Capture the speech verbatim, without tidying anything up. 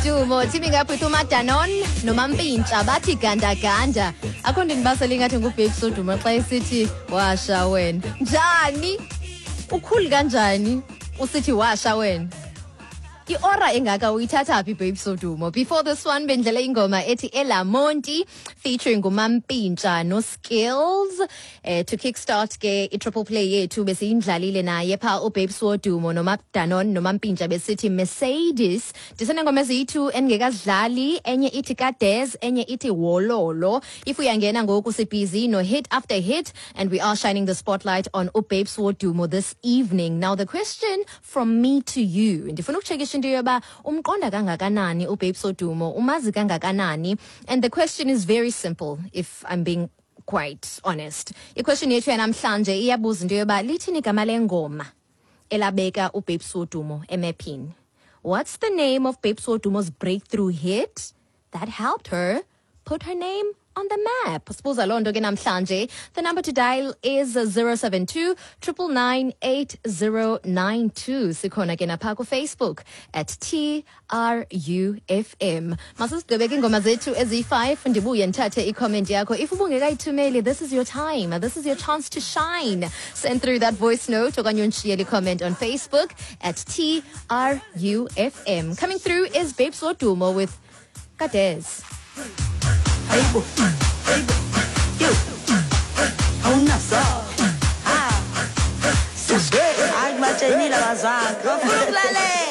Wodumo teaming up with uMadanon noMampintsha, bathi "Gandaganda". Akho nto ndibasele ingathi nguBabes Wodumo xa esithi "Washa wena". Njani? Ukhulu kanjani usithi "Washa wena"? I-aura engaka uyithatha phi, Babes Wodumo? Before this one bendlela ingoma ethi "Elamonti" featuring uMampintsha no Skills. Eh to kickstart ke i-triple play yethu, besiyindlalile naye pha uBabes Wodumo noMadanon noMampintsha, besithi "Mercedes". Ndisenengoma eziyi-two endingekazidlali, enye ithi "Kades", enye ithi "Wololo". If uyangena ngoku, sibhizi no hit after hit and we are shining the spotlight on uBabes Wodumo this evening. Now the question from me to you, ndifuna ukutshekisha into yoba umqonda kangakanani uBabes Wodumo, umazi kangakanani. And the question is very simple, if I'm being quite honest. I-question yethu yanamhlanje iyabuza into yoba lithini igama lengoma elabeka uBabes Wodumo emephini? What's the name of Babes Wodumo's breakthrough hit that helped her put her name on the map? Sibuza loo nto ke namhlanje. The number to dial is zero seven two nine nine nine eight zero nine two. Sikhona ke napha kuFacebook at T R U F M. Masisigqibeke iingoma zethu eziyi-five, ndibuye ndithathe i-comment yakho. If ubungekayithumeli, this is your time. This is your chance to shine. Send through that voice note okanye undishiyele i-comment on Facebook at T R U F M. Coming through is Babes Wodumo with "Kades". Hayibo, hayibo, yo, awunaso. Ha, hayi, batshenile abazali, bafuna ukulalela.